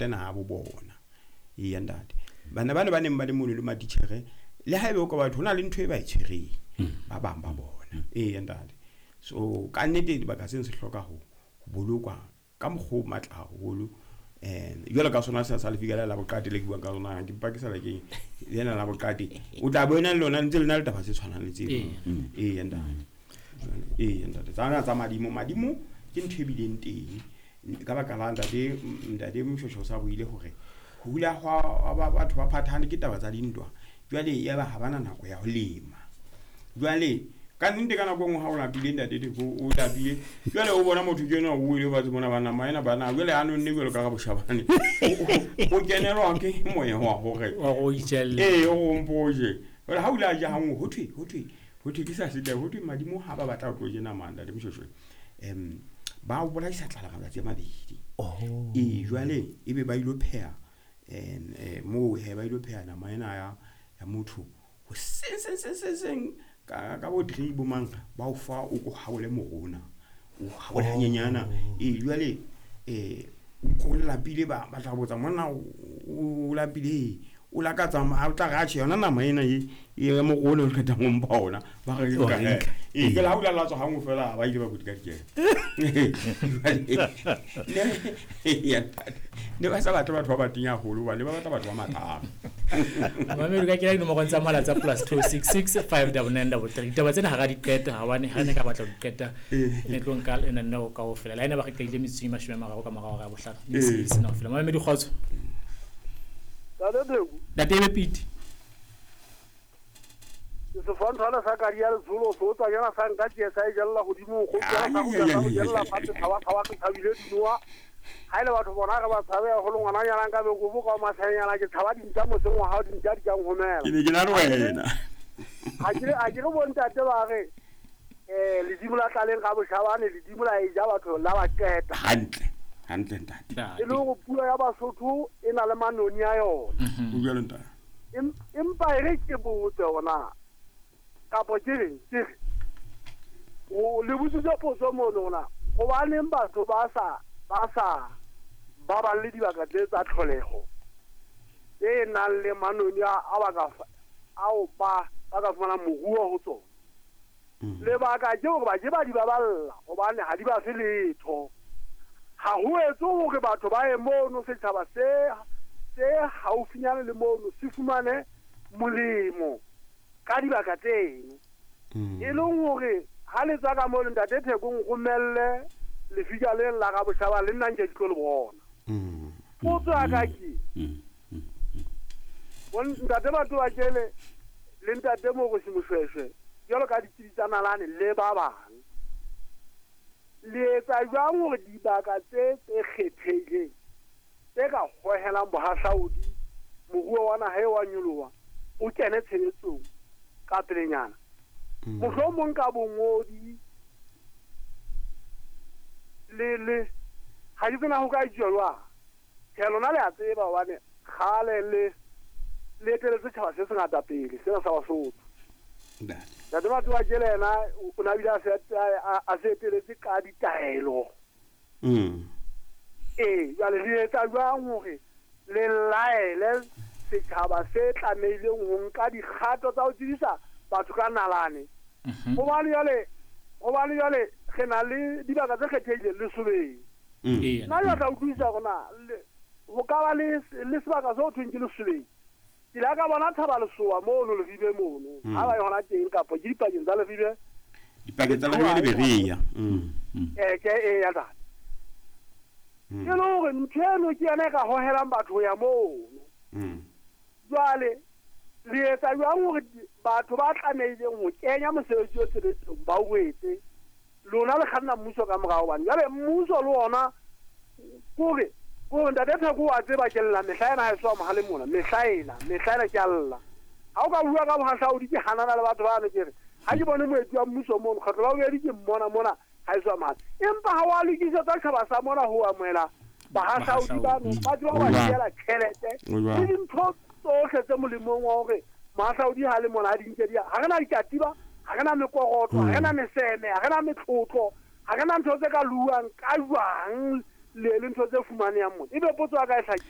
Naha bo bona. Eya ntate, bana bana ba neng ba le mono le matitjhere, le haebe o ka batho ho na le ntho e ba e tshwereng ba bang ba bona. Eya ntate, so ka nnete dibaka seno se hloka ho bolokwa ka mokgwa o matla haholo. Jwalo ka sona sa lefika la boqate le ke buang ka sona, ke mpa ke sala ke lena la boqate, o tla bona le lona ntse le na le taba tse tshwanang le tseo. Eya ntate, eya ntate, tsana tsa madimo, madimo ke ntho e bileng teng ka baka la ntate Moshweshwe o sa buile hore ho hula hwa batho ba phathane ke taba tsa dintwa. Jwale ya ba ha bana nako ya ho lema. Jwale ka nnete ka nako e nngwe ha o lapile ntate Theko, o lapile, jwale o bona motho ke enwa o wele fatshe mona, ba nama ena bana, jwale a nonne jwalo ka raboshabane, o kenelwa ke moya wa hore Wa go itjelle. Ee, o mpoje. Jwale ha o ile a ja hanngwe, ho thwe ke sa setla, ho thwe madimo ha ba batla ho tlo je nama, ntate Moshweshwe, ba o bolaisa tlala matsatsi a mabedi. Ee, jwale ebe ba ilo pheha moo he, ba ilo pheha nama ena ya motho hoseng seng seng seng seng ka bo 3 bo mang, ba o fa o ko haole morona, o haole hanyenyana. Ee, jwale o lapile, ba tla botsa monna o lapile, o lakatsa o tla re atjhe yona nama ena e ya morona o qetang ho mpha ona, ba re Wa nka re nka. Ee, ke la ha o la latswa hanngwe fela, ba ile ba kudi ka dikele. Ne ba sa batle batho ba batenya haholo, hobane ba batla batho ba matlang. Mamedi ka kena dinomorong tsa mohala tsa +266 599 33. Ditaba tsena ha ra di qeta, hobane ha ne ka batla ho di qeta ne tlo nka lenaneo kaofela. Le ha ene ba re qetile metsotso e 30 ka morao hora ya bohlano, mme se sena ho fela. Mamedi, kgotso. Tate Theko. Ntate Ebe Pete. Sefantshwana sa kadi ya letsholo se o tswanyana sa nka tsie sa e jella godimo, kgotswana sa kgutla sa go jella fatshe, tshaba tshaba ke tshabile dinoa. Ha ile batho bona re ba tshabe haholo, ngwananyana nka be kobo ka masanyana, ke tshaba dintja motseng wa hao, dintja di kang homela. Ke ne ke na le wena. Ha ke re bontate ba re ledimo la tlaleng ga boshabane, ledimo la e ja batho la ba qeta. Hantle hantle, ntate. E le hore puo ya Basotho e na le manoni a yona. O jwalo, ntate. Empa e re ke botse ona kapo ke reng, ke re o le botsitse potso mono ona, gobaneng batho ba sa baballe dibaka tse tsa tlholeho tse nang le manoni a ba ka ao ba ka fumanang moruo ho tsona? Lebaka ke hore ba ke ba di baballa hobane ha di ba fe letho. Ha ho etse hore batho ba ye mono, setjhaba se haufinyane le mono se fumane molemo ka dibaka tseno. E leng hore ha le tswa ka mono, ntate Thekong, romelle lefika le la ga boshaba le nna nke ke tlo le bona. Potso ya ka ke ntate batho ba kele le ntate Mogosi Moshweshwe jwalo ka ditsebi tsa nalane le ba bang, le etsa jwang hore dibaka tse kgethehileng tse ka hohelang bohahlaodi, moruo wa naha e wa nyoloha, o kene tshebetsong ka pelenyana, mohlomong ka bongodi le ga ke tsena ho ka etsuwa jwang? Tjhe, lona le a tseba hobane kgale le eteletse setjhaba se sengata pele sena sa Basotho. Ntate. Ntate batho ba kele yena o na bile a se eteletse ka ditaelo. Ee, jwale re etsa jwang hore le laele setjhaba se tlamehileng ho nka dikgato tsa ho tsebisa batho ka nalane? Hobane jwale re na le dibaka tse kgethehileng lesobeng. Nna ke tla utlwisisa hore na ho ka ba le sebaka se ho thweng ke lesobeng. Ke la ka bona Thaba Lesoa mono Leribe mono, ha ba ye hona teng kapa ke dipakeng tsa Leribe. Dipakeng tsa Leribe le Berea. Ke e ya tata e le hore ntho eno ke yona e ka hohelang batho ho ya mono. Jwale le etsa jwang hore batho ba tlamehileng ho kenya mosebetsi o tshebetsong ba o etse, lona le kganna mmuso ka morao? Hobane jwale mmuso le ona kore ntate Theko wa tseba ke lla mehla ena, ha e soa mohale mona, mehla ena ke a lla. Ha o ka bua ka bohahlaodi, ke hanana le batho bano, ke re ha ke bone moeti wa mmuso mono, kgetlo la bobedi ke mmona mona ha e soa mohale, empa ha wa lokisetsa tjhaba sa mona ho amohela bahahlaodi bano, ba tseba ho ba siela tjhelete O jwang? le dintho tsohle tse molemong wa hore mohahlaodi ha le mona a di nke ha re na dikatiba, ha re na mekorotlo, ha re na meseme, ha re na metlotlo, ha re na ntho tse ka luwang ka jwang le ntho tse fumanehang mona. Ebe potso ya ka e hlakile.